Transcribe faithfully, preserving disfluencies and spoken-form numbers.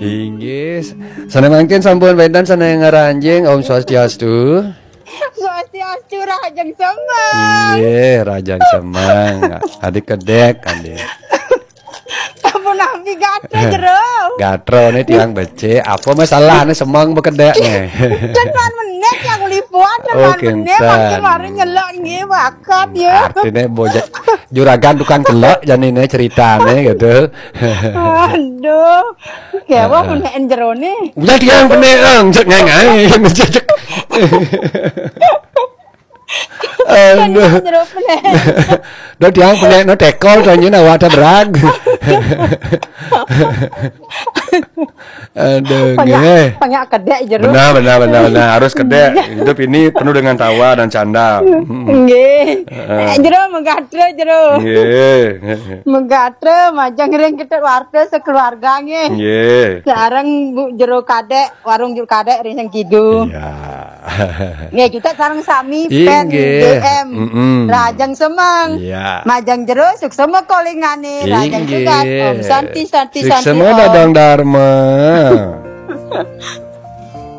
Inggih. Sané mangkin sampun wénten sané ngranjing. Om Swastiastu. Swastiastu, rahajeng semeng. Inggih, rahajeng semeng. Adik kedék, adik. Sampun nampi gatra, Jero. Gatra né tiang becik, apa masalahné semeng bekedék né? Kan menit yang lipuan, Oh, kan menit kinten. Mangkin mari nyelok nggih bakat ya. Artiné bojak juragan tukang celok janiné ceritané gitu. Aduh. Kewah meneken jerone. Udah tiang penek, ang, cek ngai-ngai, cek. Aduh. Jero penek. Dah tiang penek no tekol to nyén awak ada berag. Aduh, Banyak, nggih. banyak kedék jero. Benar, benar, benar, benar. Harus kedék. Hidup ini penuh dengan tawa dan canda. Mm-mm. Nggih. Heeh. Eh, jero menggatra jero. Nggih. Menggatra majeng ring kita warga sekeluarga nggih. Nggih. Sareng Bu Jero Kadék, warung Jero Kadék ring sing kidung. Iya. Nggih, kita sareng sami Inggih. fan D M. Mm-mm. Rahajeng semeng. Iya. Majeng jero suksema kolingane. Rahajeng Inggih. Sugat. Om Santi, Santi, Santi. Suksema Om. Dadang Dharma.